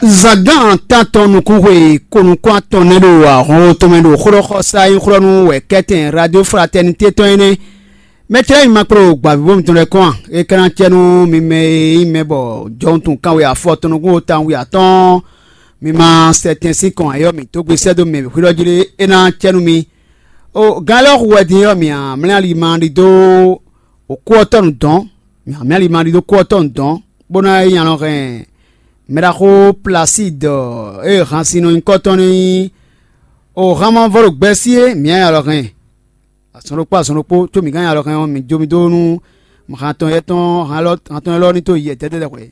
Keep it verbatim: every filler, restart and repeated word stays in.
Zǎgán tántɔn nukúnxwe ko nukún atɔn nɛ́ ɖo ahɔn tɔn mɛ ɖo xlɔ́xɔsá nyí xlɔ́ nú wɛ kɛ́tɛn Radio Fraternité tɔn é nɛ́. Mɛtɛ́ nyi ma kpló gbǎvíbó mitɔn lɛ́ɛ kɔn a? É ka ná cɛ nú mi mɛ e nyí mɛ bɔ jɔwuntun kanwe afɔ tɔn nukún tawun wi atɔ́ɔ́n, mi ma sɛ tɛn sín kɔn ayɔ́ mǐ dó gbe sɛ́ dó mɛ xwé ɖɔ jí lé, é ná cɛ nú mi. O gán lɛ́ɛ hu wɛ din ɔ́, mǐ amlɛ́ ali ma ɖidó o kú ɔ́ tɔ́ nǔ dɔn, mǐ amlɛ́ ali ma ɖidó kú ɔ́ tɔ́ nǔ dɔn, bó ná yi alɔ hɛn mɛɖaxó Plaside e hansin nɔ nyí kɔ́tɔn ní o han ma vɔ ɖo gbɛ́sí é, mǐ nya alɔ hɛn azɔn ɖokpó azɔn ɖokpó, có mǐ gán nya alɔ hɛn ɔ́, mǐ jó mì dó nú han tɔn yɛ tɔn han tɔn élɔ́ ní tó yɛ dɛ́dɛ́ hwɛ̌.